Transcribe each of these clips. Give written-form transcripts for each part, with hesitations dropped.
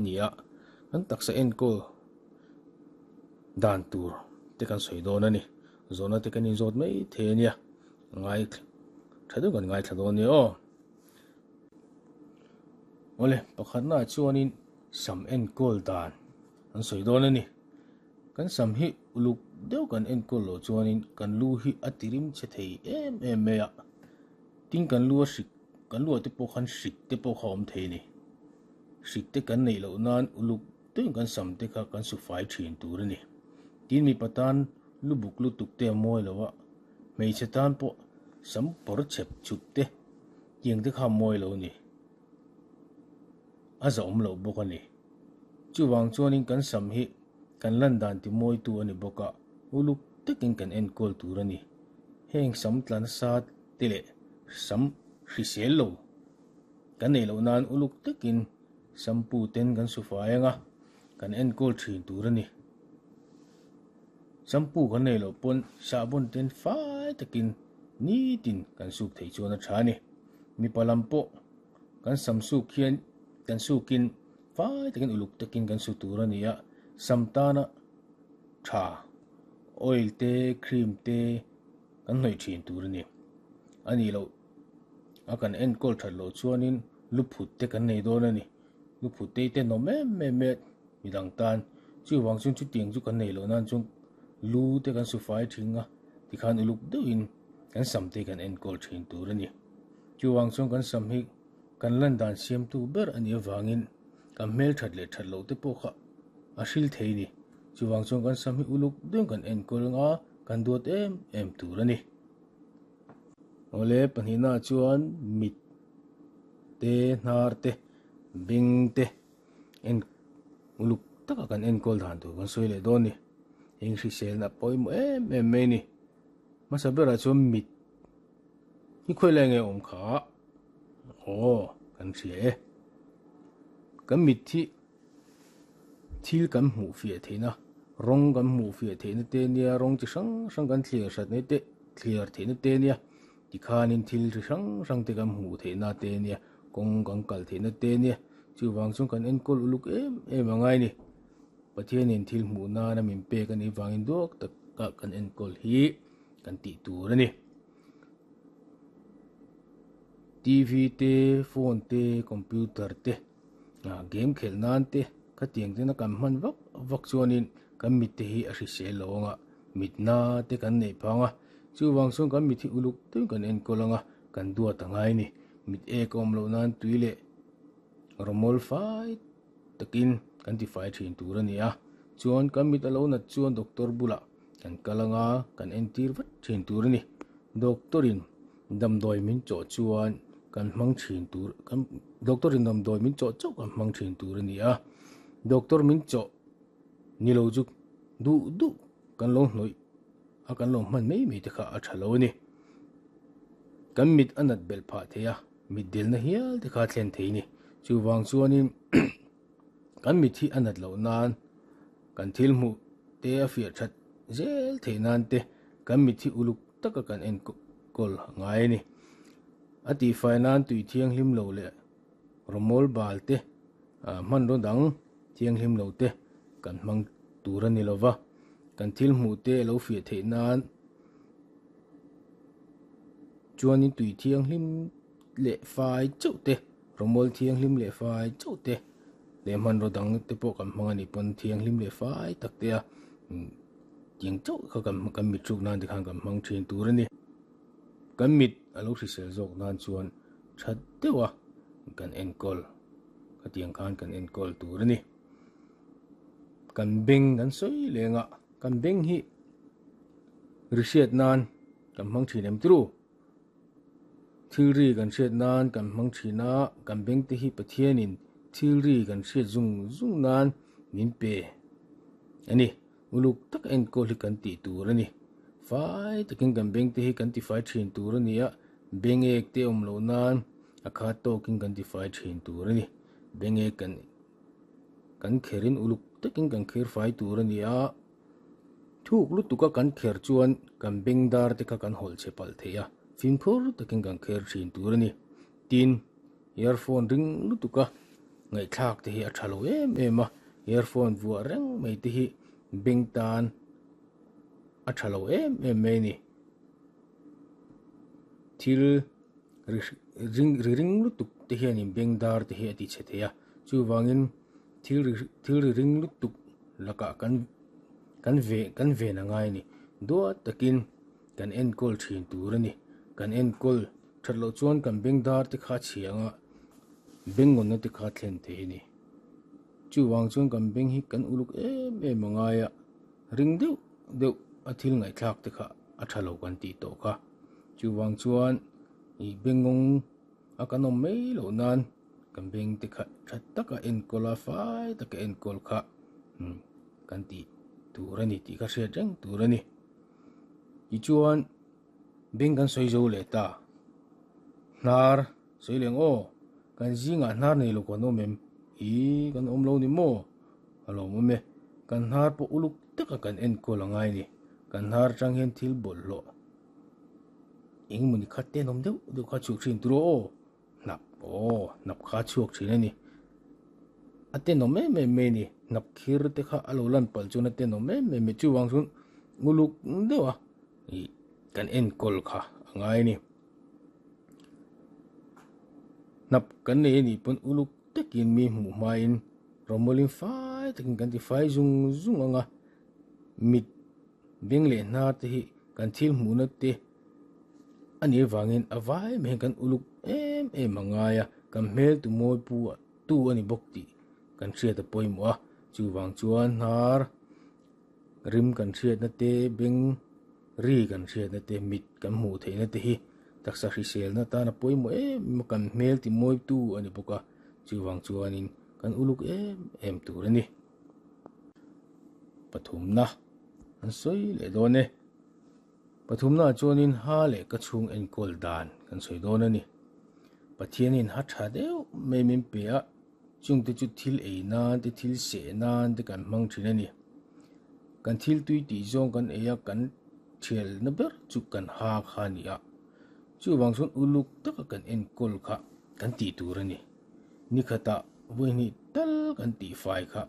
ni a, kan taksa enkawl dan tur te kan sawi dawn a ni. Zawhna te kan inzawt mai thei a nia, ngai tha deuh kan ngaithla dawn nia aw. Awle, pakhatnaah chuanin sam enkawl dan an sawi dawn a ni. Kan sam hi uluk deuh kan enkawl loh chuanin kan lu hi a tirim chhe thei em em mai a, tin kan lu a hrik, kan luah te pawh khan hrik te pawh kha a awm thei a ni. Hrik te kan neih loh nan uluk deuhin kan sam te kha kan su fai thin tur a ni. Tin mipa tan lu buk lutuk te a mawi lo a, hmeichhe tan pawh sam pawr chep chup te tiang te kha a mawi lo a ni. A zahawm loh bawk a ni. Chuvang chuanin kan sam hi kan lan dan ti mawitu a ni bawk a, uluk takin kan enkawl tur a ni. Heng sam tla nasa te leh sam hrisel lo kan neih loh nan uluk takin shampoo ten kan su fai ang a, kan enkawl thin tur a ni. Shampoo kan neih loh pawn sahbawn ten fai takin nitin kan suk theih chuan a tha a ni. Mipa lam pawh kan sam suk hian kan sukin fai takin uluk takin kan su tur a ni a, sam tana tha oil te cream te kan hnawih thin tur a ni. A nih loh a kan enkawl that loh chuanin lu phut te kan nei dawn a ni. Lu phut te hi tenawm em em e midang tan chuvang chuan chutiang chu kan neih loh nan chuan lu te kan su fai thin a tikhan uluk deuhin kan sam te kan enkawl thin tur a ni. Chuvang chuan kan sam hi kan lan dan siamtu ber a nih avangin kan hmel that leh that loh te pawh kha a hril thei a ni. Chuvang chuan kan sam hi uluk deuhin kan enkawl anga kan duat em em tur a ni. Awle pahnihna ah chuan mit te hnar te beng te en uluk taka kan enkawl dan tur kan sawi leh dawn a ni. Heng hriselna pawimawh em em mai a ni. Hmasa berah chuan mit hi khawi lai nge awm kha aw kan hria e. Kan mit hi thil kan hmuh fiah theihna rawng kan hmuh fiah theihna te nia rawng chi hrang hrang kan thliar hrat mai te thliar theihna te nia tikhanin thil chi hrang hrang te kan hmuh theihna te nia kawng kan kal theihna te nia chuvang chuan kan enkawl uluk em em a ngai a ni. Pathianin thil hmuh nana min pek a nih vangin duak taka kan enkawl hi kan tih tur a ni. TV te, phone te, computer te, game khelh nan te khatiang tena kan hman vak vak chuanin kan mit te hi a hrisel lo ang a, mitna te kan neih phang a. Chuvang chuan kan mit hi uluk deuhin kan enkawl ang a, kan duat a ngai a ni. Mit ek a awm loh nan tui leh rawmawl fai takin kan tifai thin tur a ni a, chuan kan mit a lo nat chuan doctor bulah kan kal anga kan entir vat thin tur a ni. Doctor in damdawi min chawh chuan kan hmang thin tur kan doctor in damdawi min chawh chauh kan hmang thin tur a ni a, doctor min chawh ni lo chu duh duh kan lo hnawih a kan lo hman mai mai te kha a tha lo a ni. Kan mit a nat belh phah thei a. Mit delna hial te kha thlen thei ni. Chuvang chuanin kan mit hi a nat loh nan kan thil hmuh te a fiah that zel theih nan te kan mit hi uluk taka kan enkawl a ngai a ni. A tihfai nan tui thianghlim lo leh rawmawl bal te hmanraw dang thianghlim lo te kan hmang tur a ni lo va. Kan thil hmuh te a lo fiah theih nan Chuanin tui thianghlim leh fai chauh te, rawmawl thianghlim leh fai chauh te leh hmanraw dang te pawh kan hmang a nih pawn thianghlim leh fai tak te a tiang chauh kha kan kan mit hruk nan te khan kan hmang thin tur a ni. Kan mit a lo hrisel zawk nan chuan tha deuh a kan enkawl khatiang khan kan enkawl tur a ni. Kan beng kan sawi leng a, kan beng hi ri hriat nan kan hmang thin em tru? Thil ri kan hriat nan kan hmang thin a, kan beng te hi Pathianin thil ri kan hriat zung zung nan min pe a ni. Uluk tak enkawl hi kan tih tur a ni. Fai takin kan beng te hi kan tifai thin tur a ni a, beng ek te awm loh nan a khat tawkin kan tifai thin tur a ni. Beng ek kan kan kherin uluk takin kan kher fai tur a ni a. Thuk lutuka kan kher chuan kan beng dar te kha kan hawlh chhe palh thei a, fimkhur takin kan kher thin tur a ni. Tin, earphone ring lutuka Ngaihthlak te hi a tha lo em em a, earphone vuah reng mai te hi beng tan a tha lo em em mai a ni. Thil ri ring ri ring lutuk te hianin beng dar te hi a ti chhe thei a, chuvangin thil ri thil ri ring lutuk lakah kan kan ve kan ven a ngai a ni. Duat takin kan enkawl thin tur a ni. Kan enkawl that loh chuan kan beng dar te kha a chhia ang a, beng ngawnna te kha a thlen thei a ni. Chuvang chuan kan beng hi kan uluk em em a ngai a, ring deuh deuh a thil ngaihthlak te kha a tha lo kan tih tawh kha. Chuvang chuan ih bengngawng a kan awm mai loh nan kan beng te kha tha taka enkawl a, fai taka enkawl kha umm kan tih tur a ni tih kha hriat reng tur a ni. Tichuan beng kan sawi zo leh ta, hnar sawi leh ang aw, kan zingah hnar nei lo kan awm em? Ih kan awm lo ni maw? A lawm awm e, kan hnar pawh uluk taka kan enkawl a ngai a ni, kan hnar atang hian thil bawlhhlawh eng emaw ni kha tenawm deuh deuh kha chhuak thin tur aw, hnap aw hnap kha a chhuak thin a ni, a tenawm em em mai a ni, hnap khir te kha a lo lan palh chuan a tenawm em em mai chuvang chuan uluk deuh a ih kan enkawl kha a ngai a ni, hnap kan nei a nih pawn uluk takin mi hmuh hmain rawmawlin fai takin kan ti fai zung zung ang a, mit beng leh hnar te hi kan thil hmuhna te a nih avangin a vai mai hian kan uluk em em a ngai a, kan hmel tu mawi pu tu a ni bawk tih kan hriat a pawimawh a, chuvang chuan hnar rim kan hriatna te beng ri kan hriatna te mit kan hmuh theihna te hi taksa hriselna tan a pawimawh em em a, kan hmel ti mawi tu a ni bawk a, chuvang chuanin kan uluk em em tur a ni. Pathumna an sawi leh dawn e. Pathumna ah chuanin ha leh ka chhung enkawl dan kan sawi dawn a ni. Pathianin ha tha deuh mai min pe a, chungte chu thil ei nan te thil seh nan te kan hmang thin a ni. Kan thil tui tih zawng kan ei a, kan thialna ber chu kan ha kha a ni a. Chuvang chuan uluk taka kan enkawl kha kan tih tur a ni. Nikhatah vawihnih tal kan tihfai kha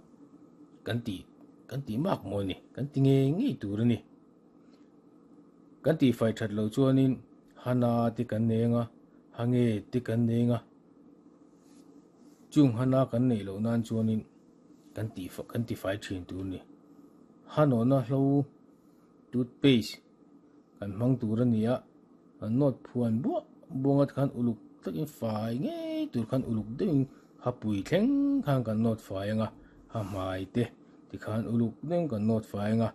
kan tih kan tih mak maw ni, kan ti ngei ngei tur a ni. Kan tihfai that loh chuanin hana te kan nei anga, ha nge te kan nei anga, chung hana kan neih loh nan chuanin kan tih kan tifai thin tur a ni. Ha nawhna hlo toothpaste kan hmang tur a ni a, kan nawt phuan buah buanga khan uluk takin fai ngei tur khan uluk deuhin ha pui thleng khan kan nawt fai anga, ha hmai te tikhan uluk deuhin kan nawt fai anga.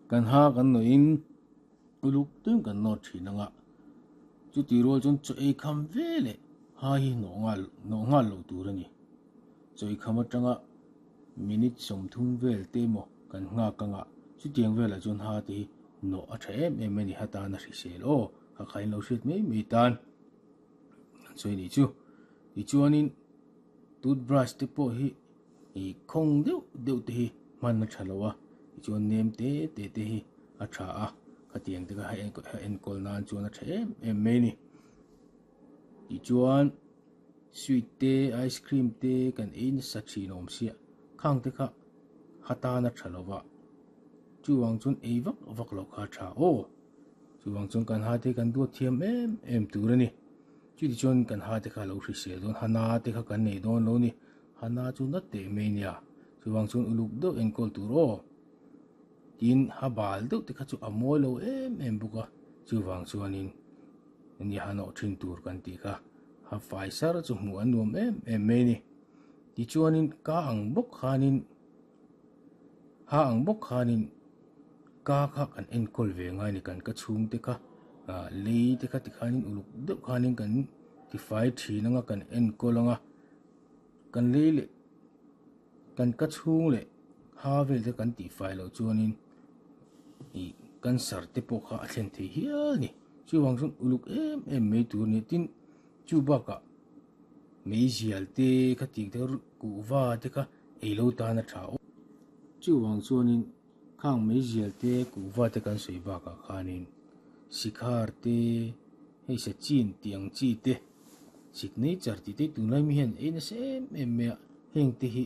Kan ha kan nawhin uluk deuhin kan nawt thin ang a, chutih rual chuan chaw ei kham ve leh ha hi nawh nghal nawh nghal loh tur a ni. Chaw ei kham atanga minute 30 vel te emaw kan nghak ang a, chutiang velah chuan ha te hi nawh a tha em em a ni, ha tan a hrisel aw, ha kha in lo hriat mai mai tan an sawi a nih chu. Tichuanin toothbrush te pawh hi Ih khawng deuh deuh te hi hman a tha lo a, tichuan nem te te te hi a tha a, khatiang te kha a enkawl nan chuan a tha em em mai a ni. Tichuan sweet te ice cream te kan ei nasa thin awm sia, khang te kha ha tan a tha lo va, chuvang chuan ei vak vak loh kha a tha aw. Chuvang chuan kan ha te kan duat thiam em em tur a ni. Chutichuan kan ha te kha a lo hrisel dawn, ha na te kha kan nei dawn lo a ni. Hana chu na teh mai nia, chuvang chuan uluk deuh enkawl tur aw. Tin, ha bal deuh te kha chu a mawi lo em em bawk a, chuvang chuanin nia ha nawh thin tur kan tih kha, ha fai sar chu hmuh a nuam em em mai a ni. Tichuanin ka ang bawk khanin, ha ang bawk khanin ka kha kan enkawl ve ngai a ni, kan ka chhungte kha lei te kha tikhanin uluk deuh khanin kan tifai thin anga kan enkawl anga. Kan lei leh kan ka chhung leh ha vel te kan tihfai loh chuanin ih cancer te pawh kha a thlen thei hial a ni. Chuvang chuan uluk em em mai tur a ni. Tin, chu bakah meizial te kha tih te kuhva te kha ei lo tan a tha awm. Chuvang chuanin khang meizial te kuhva te kan sawi bakah khanin sikhar te hei sachin tih ang chi te. Signature tih te tunlai mi hian ei nasa em em mai a, heng te hi.